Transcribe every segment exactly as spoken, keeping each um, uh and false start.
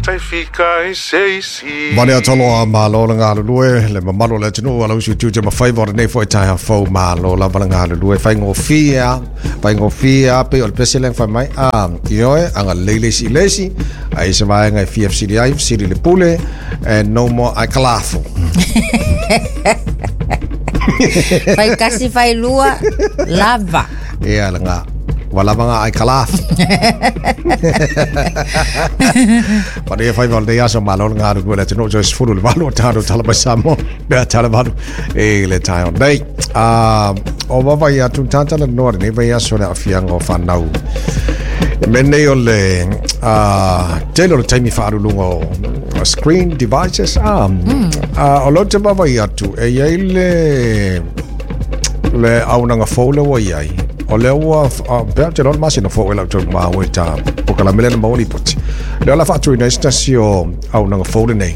Tai fika i se isi. Mane atalo a malo le galulue le mamalu o le atunuu ala usi tiute ma faiva o lenei foi taeao fou. Malo lava le galulue, faigofie a faigofie a pei o le pese lea fai mai a ioe agalelei le isi i le isi ai se vaega e fia fesili ai, fesili le pule and no more aikalafo. Fai kasi fai lua lava. Ia laga ua lava ga aikalafo. Manuia faiva o lenei aso, malo le galulue le atunuu toe sefulu le valu o tatou tala mai Samoa pe a tala valu i le taeao nei. Ah, o vavai atu tatalanoa lenei vaiaso le aafiaga o fanau e mea nei o le ah, tele o le taimi faaluluga o o screen devices ah, ah, o loo te vavai atu e iai le le aunaga fou le ua iai o lea ua pea te loa le masina fou e lau tau maua i ta pokalame lea na maua lipoti lea o la faatuina ai se tasi o aunaga fou lenei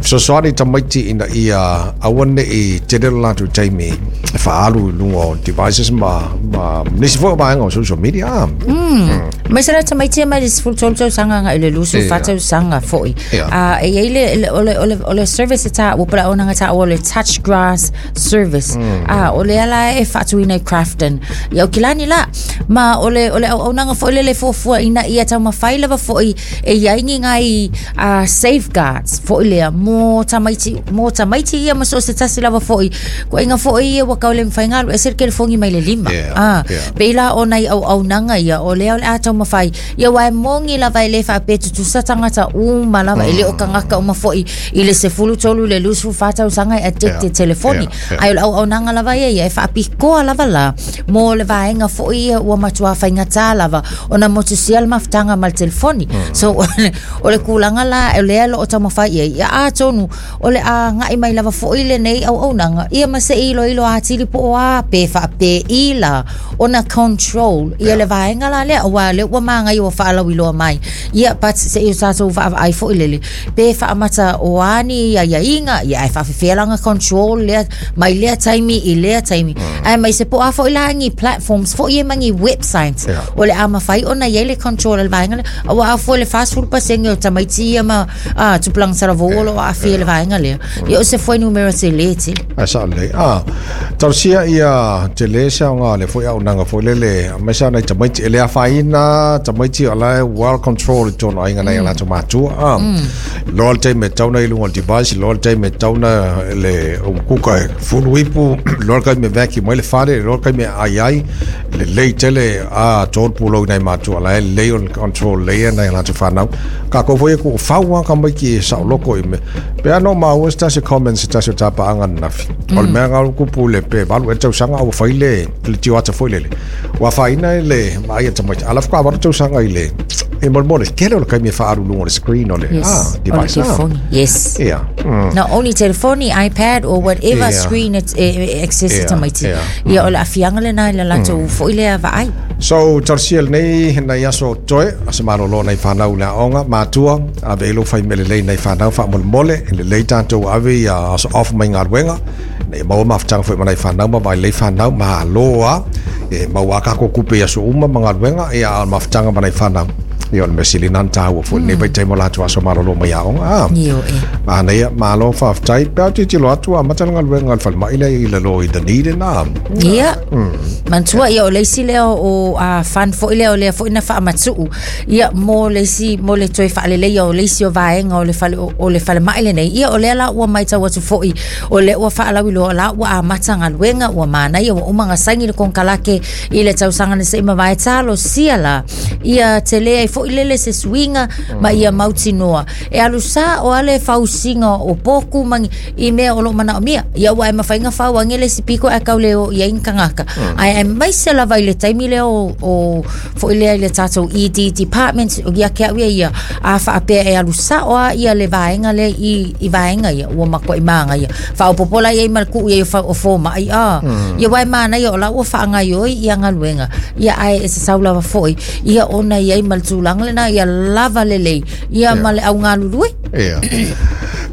fesoasoani tamaiti ina ia aua nei tele lo latou taimi e faaalu i luga o devices ma ma nisi foi o vaega o social media ah. Mai se la tamaiti mai le sefulu tolu tausaga agai i le luasefulu fa Ia. tausaga foi. Ia. Ah, e iai le le- o le o le o le service e taua po o le auaunaga taua o le Touch Grass service. Ah, o lea la e faatuina i Crafton i Aukilani la ma o le o le auaunaga foi lele fuafua ina ia taumafai lava foi e iai ni nai uh, safeguards foi lea mo tamaiti mo tamaiti ia ma so o se tasi lava foi koaiga foi ia ua kau le mafai alu ese le telefoni mai le lima. Yeah, ah, yeah. Pei la o nai auaunaga ia o lea o le a taumafai ia ua e mogi lava e lē faapea tutusa tagata uma lava e lē o tagata uma foi i le sefulu tolu i le luasefulu fa tausaga e addicted Yeah, telefoni yeah, yeah. ae o le auaunaga lava ia ia e faapikoa lava la mo le vaega foi ia ua matuā faigatā lava ona motusia le mafutaga ma le telefoni. So o le, o le kulaga la o lea loo taumafai ia ia atonu o le agaʻi mai lava foi lenei auaunaga ia ma se iloilo atili po o a pe faapei la ona control ia le vaega la lea ua lea ua magai ua faalauiloa mai ia but se i o tatou vaavaai foi lele pe faamata o ani aiaiga ia ae faafefea laga control lea mai lea taimi i lea taimi ae mai se po a foi la ni platforms foi ia ma ni websites Yeah. o le a mafai ona iai le control le vaega lea aua a foi le fasefulu pasene o tamaiti ia ma a tupulaga talavou o loo aafia le vaega lea ia o se fuainumera telē tele. Ai sa lelei ah talosia ia tele se aoga le foi aunaga foi lele mai sa nai tamaiti e le afaina tamaiti o la e well control i tonu aiga nai a latou matua ah loa le taimi e tauna i luga o le device, loa le taimi e tauna le umukuka e fulu ipu, loa le taimi e vacuum mai le fale, loa le taimi e ai ai lelei tele a tolu pulou i nai matua la e lelei o le control lelei nai a latou fanau kakou foi e kuufau a kamaiki e saoloko i mea pe ano maua se tasi comment se tasi o tapaaga nanafi o le mea galu kupu le pe valu e tausaga ua fai le le tioata foi lele ua faaina i le maai a tamaiti ala faatoa valu tausaga i le e molemole tele o le kaimi e faaluluga o le screen o le Yes. ah O le device ah telefoni. Yes. Ia mm. Not only telefoni, iPad or whatever Yeah. screen it, e, e access Yeah, tamaiti. yeah. Ia o le afiaga lena i le latou foi lea vaai. So, talosia lenei nai aso toe, ase malolo nai whanau le aoga, matua, ave ilo whai mele lei nai whanau wha mole, le lei tātou ave ia aso off mai galuega, nei maua mafutaga foi ma nai whanau, ma vai lei whanau, ma aloa, e maua kako kupe ia so uma ma galuega, ia a mafutaga ma nai whanau. Ia o le mesili nana tāua foi, nei vai taimo lātou aso malolo mai aoga. Ah. Io e. Manaia, malo whawhtai, pea titilo atu a matala galuega al whalemai lea i lalo i Dunedin, ah. Ia. Mantua ia o le isi lea o a fund foi lea o lea foi na faamatuu ia mo le isi mo le toe faaleleia o le isi o vaega o le fale o, o le falemai lenei ia o lea la ua maitau atu foi o lea ua faalauiloa la ua amata galuega ua manaia ua uma gasaini le konekarake i le tausaga na seʻi mavae talosia la ia tele ai foi lele se suiga ma ia mautinoa e alu sa o ale fausiga o poku ma i mea o loo manaomia ia ua e mafaiga fauage le isi piko ae kau le o iai ni tagata ae aemaise lava i le taimi lea o, o foi lea i le tatou E D department o ia ke au ia ia a faapea e alu sao a ia le vaega lea i, i vaega ia ua matuai magaia faaopopo la iai ma le kuu iai o fa- o fomai a ia ua e manaia o la ua faagaioi ia galuega ia ae e sasau lava foi ia ona iai ma le tulaga lena ia lava lelei ia ma le augalulue. Ia.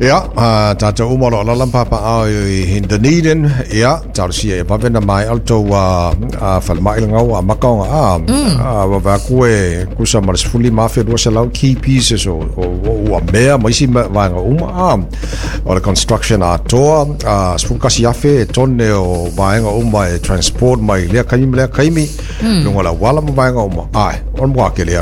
Ia, a tātou uma lo lala papa au i Dunedin, ia, talosia e vave na mai alto a a falemai le gau a makaoga a a vave aku e kusa ma le sefulu lima afe lua selau key pieces o o ua mea ma isi vaega uma a o le construction atoa a sefulu kasi afe e tone o vaega uma e transport mai lea kaimi ma lea kaimi luga o le auala ma vaega uma ae o le matua tele.